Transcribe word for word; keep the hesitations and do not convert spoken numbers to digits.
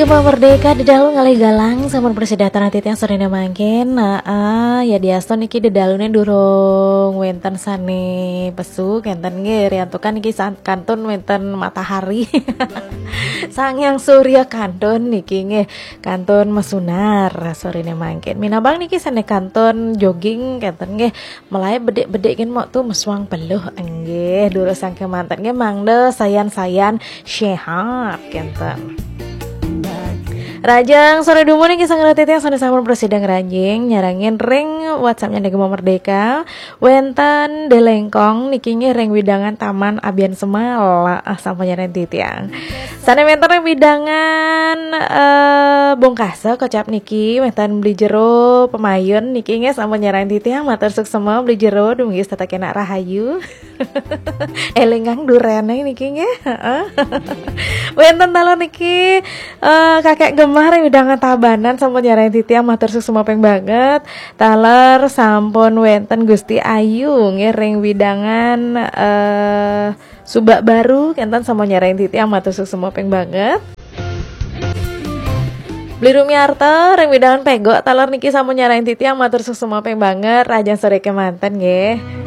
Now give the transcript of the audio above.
Gema Merdeka, dedalu ngalih galang sampun prasida sareng titiang sorene mangkin. Nah, ah, yadiastu niki dedalune durung wenten sane pesu kenten nggih, riantukan niki san-, kantun wenten matahari. Sang Hyang Surya kantun niki nggih, kantun masunar sorene mangkin. Minabang niki sane kantun jogging kenten nggih, melae bedik-bedik nggih mok tu mesuang peluh nggih. Durusang kemanten nggih, mangda sayan-sayan sehat kenten. Rahajeng sore dumun niki sareng titiang sane sampun prasida ngranjing nyarengin ring WhatsApp-ne Gema Merdeka. Wenten Delengkong niki nggih ring wewidangan Taman Abian Semal, ah, sampun nyarengin titiang. Sane wenten ring wewidangan, eh, Bungkasa kocap niki wenten Beli Jero Pemayun niki nggih sampun nyarengin titiang, matur suksma Beli Jero, dumugi setata kenak rahayu. Elingang durene niki nggih. Heeh. Wenten taler niki, eh, Kakek Gemah ring wewidangan Tabanan sampun nyarengin titiang, matur suksma ping banget. Taler sampun wenten Gusti Ayu nggih ring wewidangan, eh, Subak Baru kenten sampun nyarengin titiang, matur suksma ping banget. Beli Rumiarta ring wewidangan Pegok taler niki sampun nyarengin titiang, matur suksma ping banget. Rahajeng sore kemanten nggih.